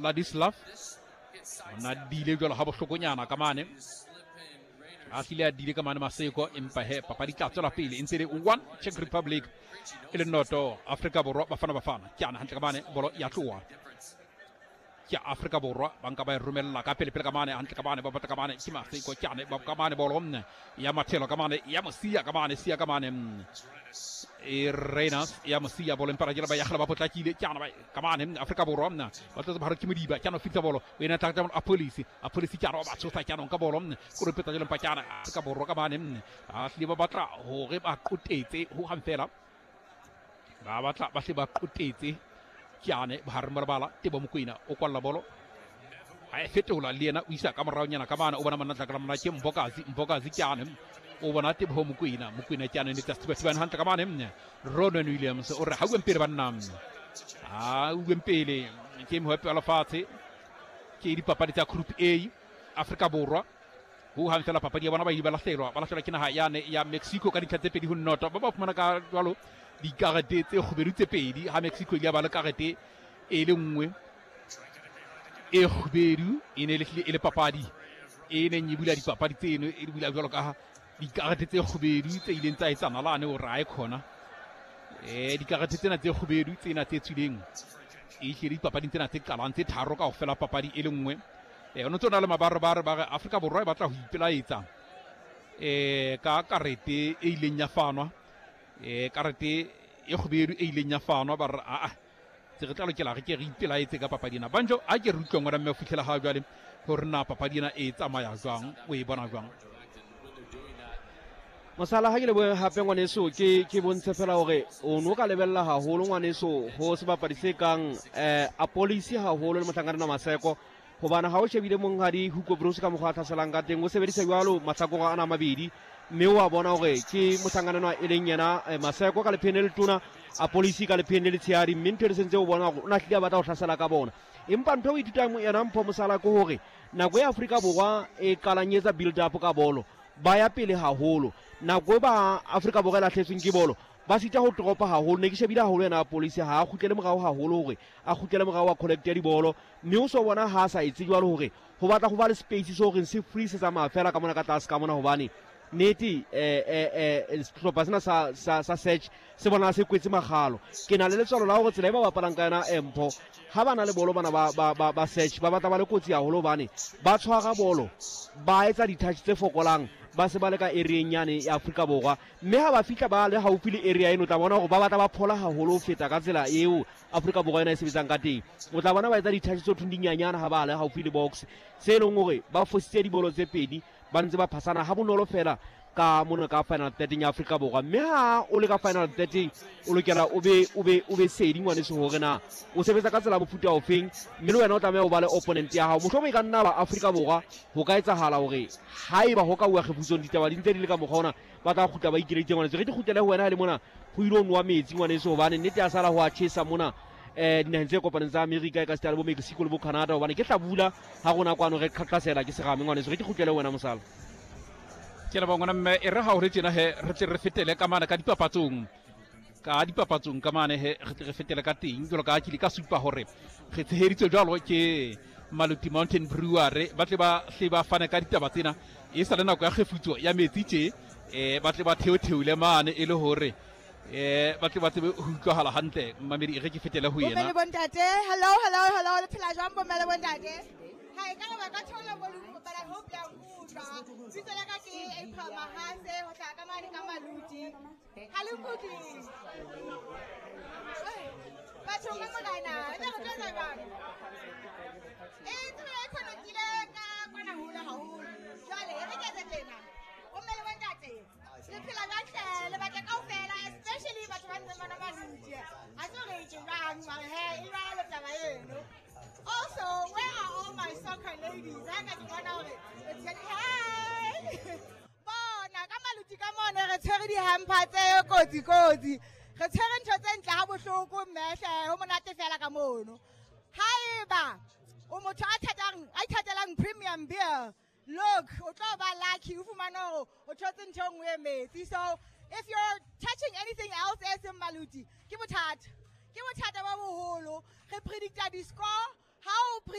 Ladislav ona dile jwalo ha bohlokonyana ka mane a hlile a dile ka mane Maseko, empa he papadi tla tswela pele e ntse le 1 Czech Republic e le noto Afrika Borwa. Bafana Bafana ke ana hantle ka mane, bolo ya tloha ke Afrika Borwa, ba nka ba e romella ka pele pele ka mane hantle ka mane, ba batla ka mane ke Maseko ke ane ba ka mane, bolo ya mathelo ka mane ya mosia ka mane, sia ka mane e Reyners ya mosia bolo, empa ba ya ba potlakile ke ana ba ka mane Afrika Borwa ba tlotse ba ke Modiba ke ana fitsa bolo o ena tla a police, a police ke ana ba tshosa ke ana ka bolo ko re petsa jelo, empa ke ana Afrika Borwa ka mane a hlile ba batla hore ba qotetse ho hang fela, ba batla ba hle ba qotetse ke ane bohareng ba lebala. Tebo Mokoena o kwalla bolo a e fetola le yena o isa ka moraonyana ka mane, o bona monna tlakala mona ke Mbokazi, Mbokazi ke ane o bona Teboho Mokoena, Mokoena ke ane ne tsa thiba hantle ka mane. Ronan Williams o re ha uweng pele banna, ha uweng pele ke mohapi wa lefatshe ke dipapadi tsa Group A. Afrika Borwa ho hang fela papadi ya bona ba ile ba lahlelwa, ba lahlelwa ke naha yane ya Mexico ka dintlha tse 2-0, ba ba fumana ka jwalo dikarete tse kgubedu tse pedi, ha Mexico ile ya ba le karete e le nngwe e kgubedu. E ne le hlile e le papadi e neng e bula dipapadi tseno, e bula jwalo ka dikarete tse kgubedu tse ileng tsa etsa nalane o re ae khona dikarete tsena tse kgubedu tsena tse tswileng e hlile dipapading tsena tse qalang tse tharo ka ofela papadi e le nngwe. O ntse o na le mabarebare ba re Afrika Borwa e batla ho ipelaetsa ka karete e ileng ya fanwa, karete e kgubedu e ileng ya fanwa, ba re aa tse re tla lokela re ke re ipelaetse ka papadi ena. Banjo a ke re utlwe ngwana mme ho fitlhela ha jwale hore na papadi ena e tsamaya jwang, o e bona jwang? Mosala, ha ke lebohe hape ngwaneso, ke bontshe fela hore o no ka lebella haholo ngwaneso ho sebapadi se kang Apolisi haholo le mohlankana Maseko, hobane ha o shebile monghadi Hugo Broos ka mokgwa a tlhaselang ka teng, o sebedisa jwalo mahlakore ana a mabedi, mme wa bona hore ke mohlankana e leng yena Maseko ka lepheng le letona, Apolisi ka lepheng le letshehadi, mme ntho e sentse o bona hore o na hlile a batla ho hlasela ka bona. Empa ntho e o ithutang yona mpho mosala ke hore nako e Afrika Borwa e qalang etsa build up ka bolo, ba ya pele haholo. Nako e ba Afrika Borwa e lahletsweng ke bolo, ba sita ho dropa haholo. Ne ke shebile haholo yena Apolisi ha a kgutlele morao haholo, hore a kgutlele morao a collect dibolo, mme o so bona ha a sa etse jwalo hore ho batla ho ba le space so horeng se free se tsamaya fela ka mona ka tlase ka mona, hobane nnete sehlopha sena sa search se bona se kwetse magalo. Ke na le letswalo la hore tsela e ba bapalang ka yona mpho ha ba na le bolo bana ba search ba batla ba le kotsi haholo, hobane ba tshwara bolo ba etsa di-touch tse fokolang, ba se ba le ka areeng yane ya Afrika Borwa, mme ha ba fihla ba le haufi le area eno, o tla bona hore ba batla ba phola haholo ho feta ka tsela eo Afrika Borwa yona e sebetsang ka teng. O tla bona ba etsa di-touch tse thong dinyanyana ha ba le haufi le box, se e leng hore ba fositse dibolo tse pedi, ba ntse ba phasana ha bonolo fela ka mona ka final third ya Afrika Borwa. Mme ha o le ka final third o lokela o be sedi ngwaneso hore na o sebetsa ka tsela mofuta ofeng, mme le wena o tlameha o ba le opponent ya hao. Mohlomong e ka nna ba Afrika Borwa ho ka etsahala hore haeba ho ka uwa kgefutsong ditaba di ntse di le ka mokgwa ona, ba tla kgutla ba ikeleditse ngwaneso. Re di kgutlele ho wena ha le mona ho ile ho nowa metsi ngwaneso, hobane nnete ya sala ho a tjhesa mona dinaheng tse kopaneng tsa Amerika e ka sita le bo Mexico le bo Canada, hobane ke hlabula ha rona kwano re qhaqhasela ke serame ngwaneso. Re ke kgutlele ho wena mosala. Ke leboha ngwana mme. E re ha o re tjena he re tle re fetele ka mane ka dipapatsong ka mane, he re tle re fetele ka teng jwalo ka ke ile ka supa hore re tsheheditswe jwalo ke Maluti Mountain Brewery, ba tle ba hle ba fane ka ditaba tsena e sa le nako ya kgefutso ya metsi tje, ba tle ba theotheole mane e le hore ba tle ba tsebe ho utlwahala hantle. Mmamedi, e re ke fetele ho Bomme le yena. Bontate, hello, hello, hello, le phela jwang bomme le bontate? Hi, ka ba ka theola volume, but I hope ya nkutlwa. Bitso la ka ke April Mahase, ho hlaha ka mane ka Maluti. Ha le nkutlwe? Bathong ba morena, re tla re tlo etsa jwang? Tsela e connect-ile ka kwana hole haholo. Jwale, e re ke etse tjena. Bomme le bontate, le phela jwang hle? Le batla kaofela, especially batho ba ntseng ba nwa Maluti. Ha se hore ke jwang, mara he, e jwalo taba eno. Also, where are all my soccer ladies? Ha ka ke bona hore it's getting hey! Bona ka Maluti ka mone re tshwere di-hamper tse kotsi kotsi. Re tshwere ntho tse ntle ha bohloko mmehle, ho monate fela ka mono. Haeba o motho a thatang, a ithatelang premium beer, look, o tlo ba lucky o fumane hore o thotse ntho e nngwe e metsi. So if you're touching anything else e seng Maluti, ke bothata. Ke bothata bo boholo. Re predicta di-score. Ha o